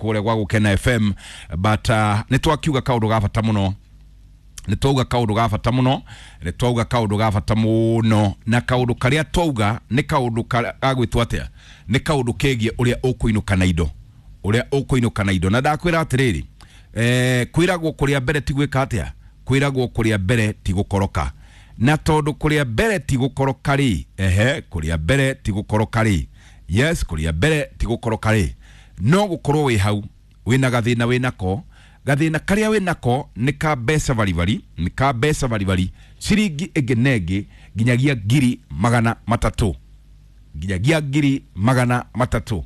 Kũrĩa gwa Gũkena FM, but nĩ twakiuga kaũndũ ga bata mũno, nĩ twauga kaũndũ ga bata mũno, nĩ twauga kaũndũ ga bata mũno, na kaũndũ karĩa twauga nĩ kaũndũ gagwĩtwo atĩa? Nĩ kaũndũ kegiĩ ũrĩa ũkũinũka na indo, ũrĩa ũkũinũka na indo. Na ndakwĩra atĩrĩrĩ, kwĩragwo kũrĩa mbere ti gwĩka atĩa? Kwĩragwo kũrĩa mbere ti gũkoroka. Na tondũ kũrĩa mbere ti gũkoroka rĩ, ehe, kũrĩa mbere ti gũkoroka rĩ, yes, kũrĩa mbere ti gũkoroka rĩ, no gũkorwo wĩ hau wĩna gathĩna, wĩnako gathĩna karĩa wĩnako nĩ ka mbeca baribari, nĩ ka mbeca baribari, ciringi ĩngĩ na ĩngĩ nginyagia 300,000, nginyagia 300,000.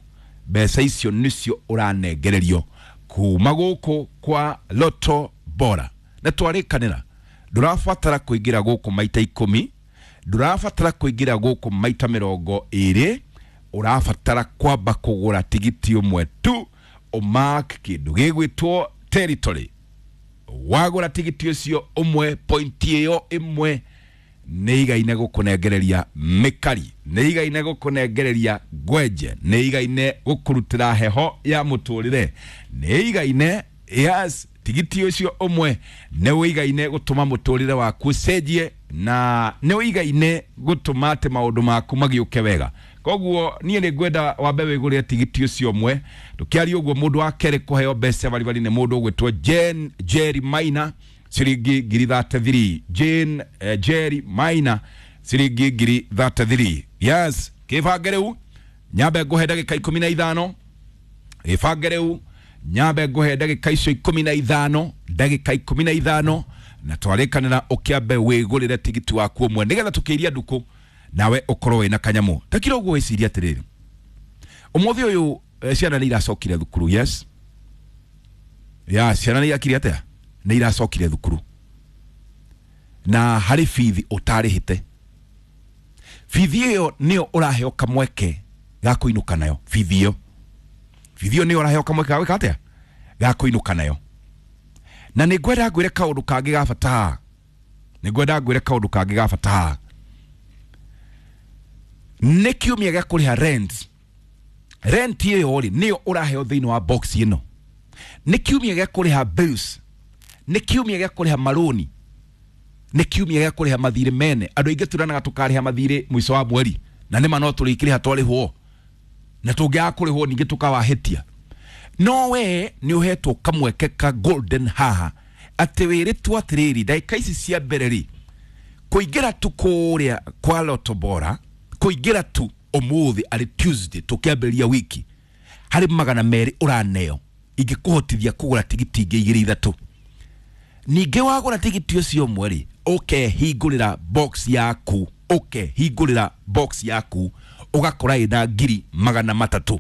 Mbeca icio nĩcio ũranengererio kuma gũkũ kwa Lotto Bora. Na twarĩkanĩra ndũrabatara kũingĩra gũkũ maita 10, ndũrabatara kũingĩra gũkũ maita 20, ũrabatara kwamba kũgũra tigiti ũmwe tu, ũmark kĩndũ gĩgwĩtwo territory. Wagũra tigiti ũcio ũmwe, point ĩyo ĩmwe nĩ igaine gũkũnengereria mĩkari, nĩ igaine gũkũnengereria ngwenje, nĩ igaine gũkũrutĩra heho ya mũtũrĩre, nĩ igaine, yes, tigiti ũcio ũmwe nĩ ũigaine gũtũma mũtũrĩre waku ũcenjie, na nĩ ũigaine gũtũma atĩ maũndũ maku magĩũke wega. Koguo niĩ nĩ ngwenda wambe wĩgũrĩre tigiti ũcio ũmwe. Tũkĩaria ũguo, mũndũ wa kerĩ kũheo mbeca baribari nĩ mũndũ ũgwĩtwo Jane Jerry Maina, ciringi 33,000. Jane Jerry Maina, ciringi 33,000. Yes, kĩbange rĩu nyambe ngũhe ndagĩka 15. Gĩbange rĩu nyambe ngũhe ndagĩka icio 15, ndagĩka 15, na twarĩkanĩra ũkĩambe wĩgũrĩre tigiti waku ũmwe, nĩgetha tũkĩiria ndukũ nawe ũkorwo wĩna kanyamũ. Takira ũguo, wĩcirie atĩrĩrĩ, ũmũthĩ ũyũ ciana nĩ iracokire thukuru. Yes, ya ciana nĩ irakire atĩa? Nĩ iracokire thukuru, na harĩ bithi ũtarĩhĩte. Bithi ĩyo nĩyo ũraheo kamweke ga kũinũka nayo. Bithi ĩyo, bithi ĩyo nĩyo ũraheo kamweke ga gwĩka atĩa? Ga kũinũka nayo. Na nĩ ngwenda ngwĩre kaũndũ kangĩ ga bata haha, nĩ ngwenda ngwĩre kaũndũ kangĩ ga bata haha. Nĩ kiumia gĩa kũrĩha rent. Rent ĩyo rĩ, nĩyo ũraheo thĩinĩ wa box ĩno. Nĩ kiumia gĩa kũrĩha bills, nĩ kiumia gĩa kũrĩha marũni, nĩ kiumia gĩa kũrĩha mathirĩ mene. Andũ aingĩ turanaga tũkarĩha mathirĩ mũico wa mweri, na nĩma no tũrĩkĩrĩha twarĩhwo, na tũngĩaga kũrĩhwo ningĩ tũkawahĩtia. No we nĩ ũhetwo kamweke ka golden haha, atĩ wĩrĩtwo atĩrĩrĩ, ndagĩka ici cia mbere rĩ, kũingĩra tu kũrĩa kwa Lotto Bora, kũingĩra tu ũmũthĩ arĩ Tuesday tũkĩambĩrĩria wiki, harĩ 200 ũraneo ingĩkũhotithia kũgũra tigiti ingĩ igĩrĩ ithatũ. Ningĩ wagũra tigiti ũcio ũmwe rĩ, ũkehingũrĩra box yaku, ũkehingũrĩra box yaku, ũgakora ĩna 300,000,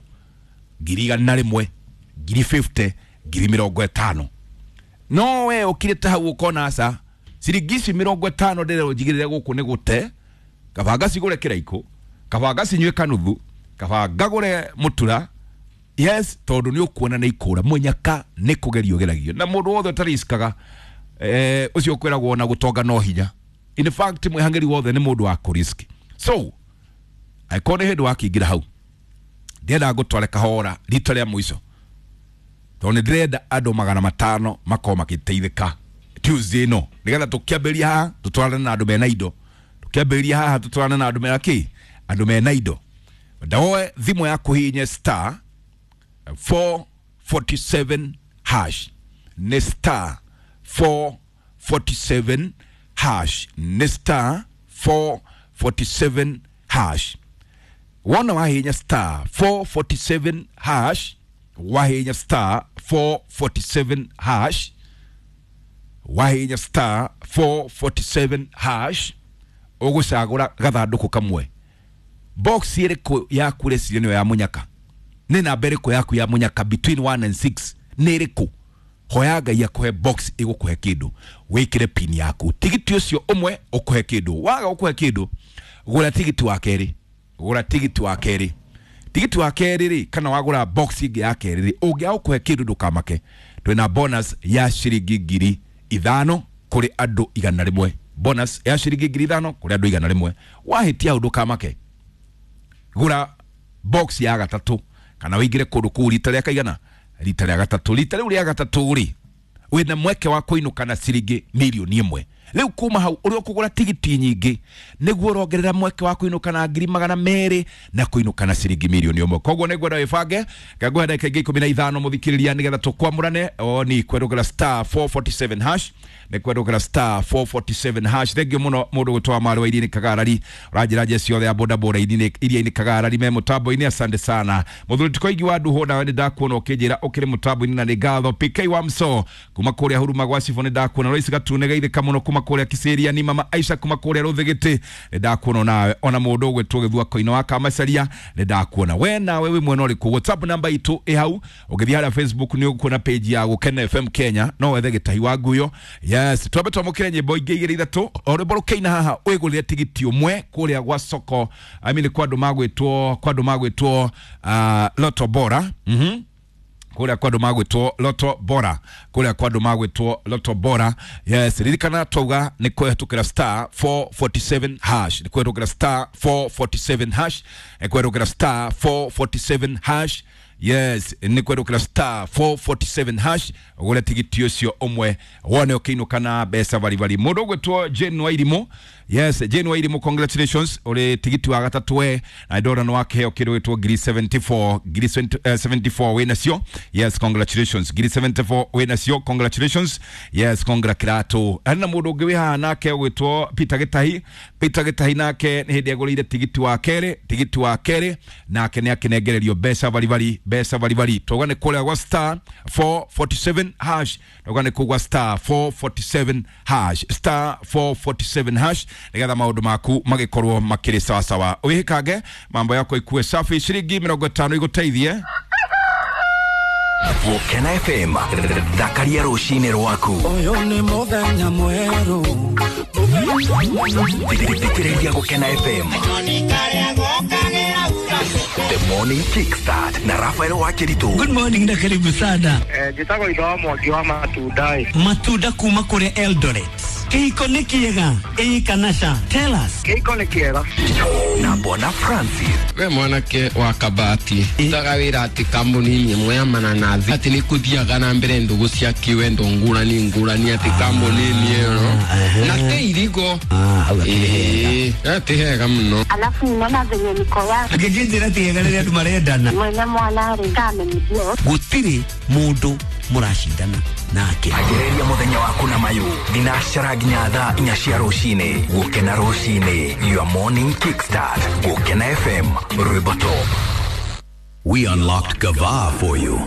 100,000, 50,000, 50,000. No we ũkirĩte hau ũkona aca, ciringi ici 50 ndĩrerwo njigĩrĩre gũkũ nĩ gũte, kaba ngacigũre kĩraikũ, kaba ngacinyue kanuthu, kaba ngagũre mũtura. Yes, tondũ nĩ ũkuona nĩ ikũra mũnyaka, nĩ kũgerio ũgeragio. Na mũndũ wothe ũtariskaga, ũcio ũkwĩragwo na gũtonga no hinya. In fact, mwĩhang'ĩri wothe nĩ mũndũ wa kũrisk. So angĩkorwo nĩ hĩndĩ wakĩingĩra hau, ndĩrenda ngũtware kahora rita rĩa mũico, tondũ nĩ ndĩrenda andũ 500 makorwo magĩteithĩka Tuesday ĩno, nĩgetha tũkĩambĩrĩria haha tũtwarane na andũ mena indo, tũkĩambĩrĩria haha tũtwarane na andũ mena kĩ? Andũ mena indo. Ndawoe thimũ yaku, hihinye star 447 hash. Nĩ star 447 hash, nĩ star 447 hash. Wona wahihinya star 447 hash, wahihinya star 447 hash, wahihinya star 447 hash, ũgũcagũra gathandũkũ kamwe. Box ĩrĩkũ yaku ũreciria nĩyo ya mũnyaka? Nĩ namba ĩrĩkũ yaku ya mũnyaka between 1 and 6? Nĩ ĩrĩkũ? Hoya Ngai akũhe box ĩgũkũhe kĩndũ, wĩkĩre pin yaku, tigiti ũcio ũmwe ũkũhe kĩndũ. Waga gũkũhe kĩndũ, gũra tigiti wa kerĩ, gũra tigiti wa kerĩ. Tigiti wa kerĩ rĩ, kana wagũra box ĩngĩ ya kerĩ rĩ, ũngĩaga gũkũhe kĩndũ, ndũkamake, twĩna bonus ya ciringi 5,000 kũrĩ andũ 100, bonus ya ciringi 5,000 kũrĩ andũ 100. Wahĩtia hau, ndũkamake, gũra box ya gatatũ kana wĩingĩre kũndũ kũu rita rĩa kaigana. Rita rĩa gatatũ, rita rĩu rĩa gatatũ rĩ, wĩna mweke wa kũinũka na ciringi mirioni 1. Rĩu kuma hau ũrĩa ũkũgũra tigiti nyingĩ nĩguo ũrongerera mweke wa kũinũka na 200,000 na kũinũka na ciringi mirioni 1. Koguo nĩngwenda wĩbange, ngangũhe ndagĩka ingĩ 15 mũthikĩrĩria nĩgetha tũkwamũrane. O ni kwerũgĩra star 447 hash, nĩ kwerũgĩra star 447 hash. Thengio mũno mũndũ gwĩtwo Marĩ wa Iria-inĩ Kagarari, ũranjĩra njeci yothe ya bodaboda Iria-inĩ Kagarari me mũtambo-inĩ, asante sana. Mũthuri Tikoigi wa Nduhũ, nawe nĩ ndakuona ũkĩnjĩra ũkĩrĩ mũtambo-inĩ na nĩ ngatho. PK wa Mso kuma kũrĩa Huruma gwa Cibũ nĩ ndakuona. Lois Gatune geithĩka mũno kuma kũrĩa Kiseriani, ni mama Aisha kuma kũrĩa Rũthĩgĩtĩ nĩ ndakuona nawe. Ona mũndũ ũgwĩtwo Gĩthua Koino wa Kamacaria nĩ ndakuona we nawe wĩ mwena ũrĩkũ. WhatsApp namba itũ ĩ hau, ũngĩthiĩ harĩa Facebook nĩ ũkuona page ya Gũkena FM Kenya, no wethe Gĩtahi wa Nguyo. Yes, twambe twamũkĩre nyĩmbo ingĩ 2 3, o rwĩmbo rũkĩina haha wĩgũrĩre tigiti ũmwe kũrĩa gwa soko, I mean kwa andũ magwĩtwo, kwa andũ magwĩtwo Lotto Bora. Kũrĩa kwa andũ magwĩtwo Lotto Bora, kũrĩa kwa andũ magwĩtwo Lotto Bora. Yes, ririkana twauga nĩ kũhetũkĩra star 447 hash, nĩ kũhetũkĩra star 447 hash, nĩ kũhetũkĩra star 447 hash. Yes, nĩ kũhetũkĩra star 447 hash ũgũre tigiti ũcio ũmwe wone ũkĩinũka na mbeca baribari. Mũndũ ũgwĩtwo Jane Wairimũ, yes, Jane Wairimũ, congratulations, ũrĩ tigiti wa gatatũ we, na ndona nĩ wakĩheo kĩndũ gĩtwo ngiri 74, ngiri 74 wĩ nacio. Yes, congratulations, ngiri 74 wĩ nacio, congratulations. Yes, congra kĩratũ. Harĩ na mũndũ ũngĩ wĩ haha nake ũgwĩtwo Peter Gĩtahi. Peter Gĩtahi nake nĩ hĩndĩ agũrĩire tigiti wa kerĩ, tigiti wa kerĩ nake nĩ akĩnengererio mbeca baribari, mbeca baribari. Twauga nĩ kũrĩa gwa star 447 hash, twauga nĩ kũu gwa star 447 hash, star 447 hash, nĩgetha maũndũ maku magĩkorwo makĩrĩ sawasawa. Wĩhĩkange mambo yako ikue safi. Ciringi 50 igũteithie. Gũkena FM, thakaria rũcinĩ rwaku. Ũyũ nĩ mũthenya mwerũ. Thikĩrĩria Gũkena FM. The Morning Kickstart na Rafael Wakiritu. Good morning na karibu sana. Njĩtagwo Itho wa Mwangi wa matunda. Matunda kuma kũrĩa Eldoret. Kĩhiko nĩ kĩega ĩĩ kana ca? Tell us. Kĩhiko nĩ kĩega. Na Bwana Francis. We mwanake wa Kabati utaga wĩra atĩ kambuni-inĩ ĩmwe ya mananathi atĩ nĩ kũthiaga na mbere ndũgũ cia kĩwendo ngũrani ngũrani atĩ kambuni-inĩ ĩyo na te irigo. Ĩĩ, ti hega mũno. Alafu ninaona venye niko yake Angĩnjĩra ti hega rĩrĩa andũ marendana. Mwene mwana rĩ kamenyithio. Gũtirĩ mũndũ mũracindana nake. Ambĩrĩria mũthenya waku na mayũ thinacara nginya thaa 4 cia rũcinĩ. Gũkena rũcinĩ, your morning kickstart. Gũkena FM, rwĩmbo top. We unlocked Gava for you.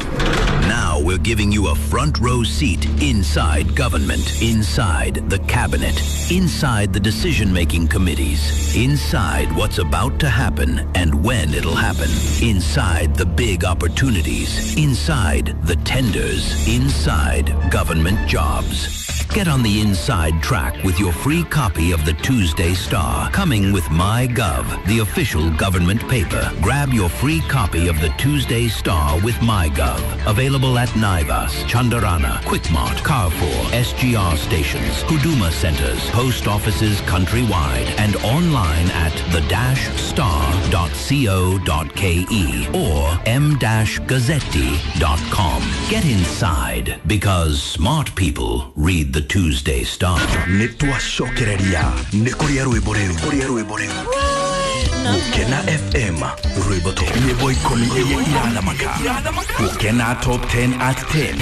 Now we're giving you a front row seat inside government, inside the cabinet, inside the decision-making committees, inside what's about to happen and when it'll happen, inside the big opportunities, inside the tenders, inside government jobs. Get on the inside track with your free copy of the Tuesday Star, coming with MyGov, the official government paper. Grab your free copy of the Tuesday Star with MyGov. Available at Naivas, Chandarana, Quickmart, Carrefour, SGR stations, Huduma centers, post offices countrywide, and online at the-star.co.ke or m-gazzetti.com. Get inside, because smart people read the Tuesday Star. Nĩ twacokereria nĩ kũrĩa rwĩmbo rĩu, kũrĩa rwĩmbo rĩu. Gũkena FM, rwĩmbo top, nyĩmbo 10 iria irathamaka. Gũkena top 10 at 10.